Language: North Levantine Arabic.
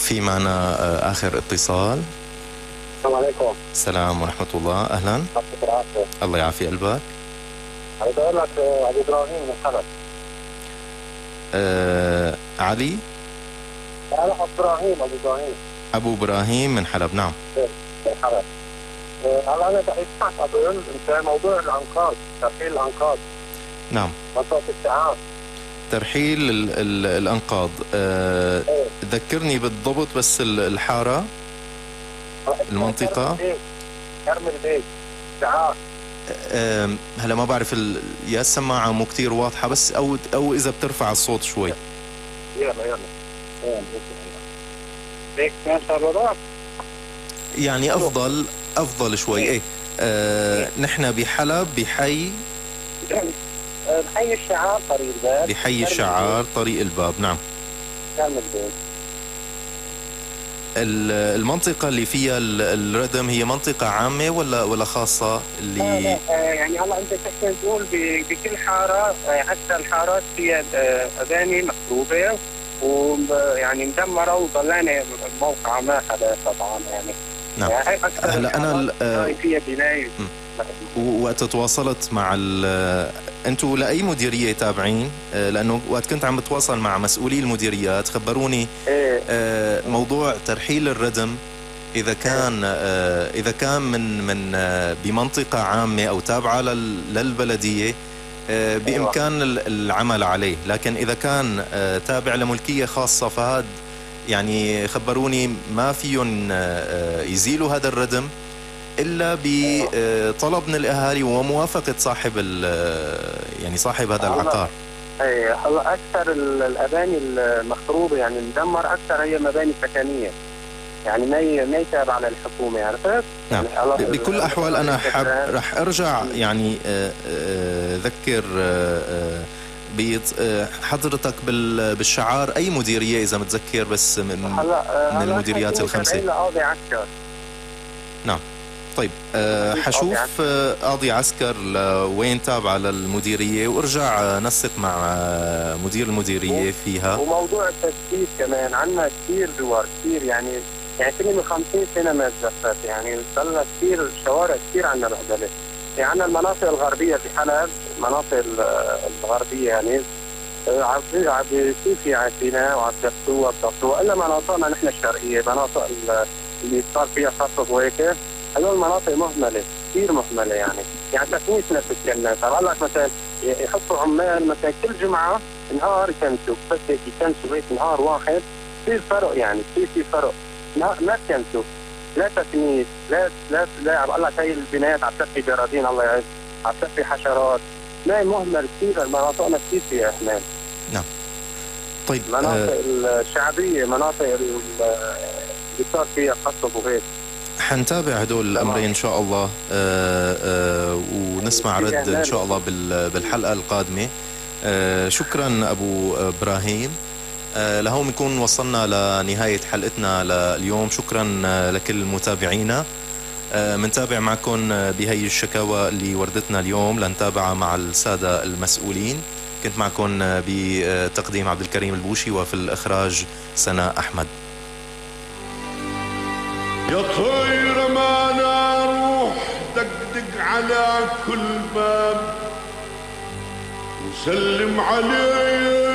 في معنا آخر اتصال. السلام عليكم. السلام ورحمة الله. أهلا. الله يعافي قلبك. عايز أقول لك أبو إبراهيم من حلب. علي؟ لا أبو إبراهيم. أبو إبراهيم من حلب. نعم. من حلب. هلا أنا بدي أسمعك أظن أنت موضوع الأنقاض، ترحيل الأنقاض. نعم. منطقة الشعاب. ترحيل الأنقاض. ذكرني بالضبط بس الحارة، المنطقة. كرم البيت شعاب. هلا ما بعرف يا السماعة مو كتير واضحة، بس أو إذا بترفع الصوت شوي. يلا هيك كان صار يعني أفضل شوي. إيه نحن بحلب بحي الشعار طريق الباب. بحي الشعار طريق الباب. نعم. كرم البيت. المنطقة اللي فيها الردم هي منطقة عامة ولا خاصة اللي لا يعني هلا انت تحكي تقول بكل حارة، حتى الحارات فيها أباني مخروبة ويعني مدمرة وضلانة موقع ما حدا طبعا يعني. نعم. يعني هلا أنا فيها بناية. وقت تواصلت مع انتوا لأي مديرية تابعين؟ لأنه وقت كنت عم بتواصل مع مسؤولي المديريات خبروني موضوع ترحيل الردم إذا كان من بمنطقة عامة أو تابعة للبلدية بإمكان العمل عليه، لكن إذا كان تابع لملكية خاصة فهذا يعني خبروني ما فيهم يزيلوا هذا الردم إلا بطلب من الأهالي وموافقة صاحب هذا العقار. هلا أكثر الأباني المخروبة يعني مدمر أكثر هي مباني سكنية، يعني ما يتابع للحكومة، عرفت؟ نعم. يعني بكل الأحوال أنا رح أرجع يعني ذكر حضرتك بالشعار أي مديرية إذا متذكر بس من المديريات الخمسة. قاضي عسكر. نعم. طيب حشوف قاضي عسكر لوين تابعة للمديرية وارجع نسق مع مدير المديرية فيها. وموضوع التجديد كمان عنا كثير دوار كثير يعني فيني من 50 سنة ما تجفت، يعني ضلنا كثير شوارع كثير عنا بهدلة. يعني عنا المناطق الغربية في حلب، المناطق الغربية يعني عم بيصير في عسيناء وعم بيقطوها إلا مناطقنا نحن الشرقية، مناطق اللي صار فيها خطط وهيك، هذول المناطق مهملة كثير مهملة يعني تكنيسنا بتتكلم. طبعا لك مثلا يحطوا عمال مثلا كل جمعة نهار يكنسوا، بس يكنسوا هيك نهار واحد كثير فرق، يعني في فرق. ما تكنسوا، لا تكنيس، لا عم بقول لك هي البنايات عم تحكي جرادين الله يعز، عم تحكي حشرات، ما مهمل كثير. مناطقنا كثير فيها اهمال. نعم. طيب مناطق الشعبية، مناطق اللي صار فيها قصب وهيك. حنتابع هدول الأمرين إن شاء الله ونسمع رد إن شاء الله بالحلقة القادمة. شكرا أبو إبراهيم. لهون بنكون وصلنا لنهاية حلقتنا لليوم. شكرا لكل متابعينا. منتابع معكم بهي الشكاوى اللي وردتنا اليوم لنتابعها مع السادة المسؤولين. كنت معكم بتقديم عبد الكريم البوشي وفي الإخراج سناء أحمد. يا طير ما روح دقدق على كل باب وسلم عليه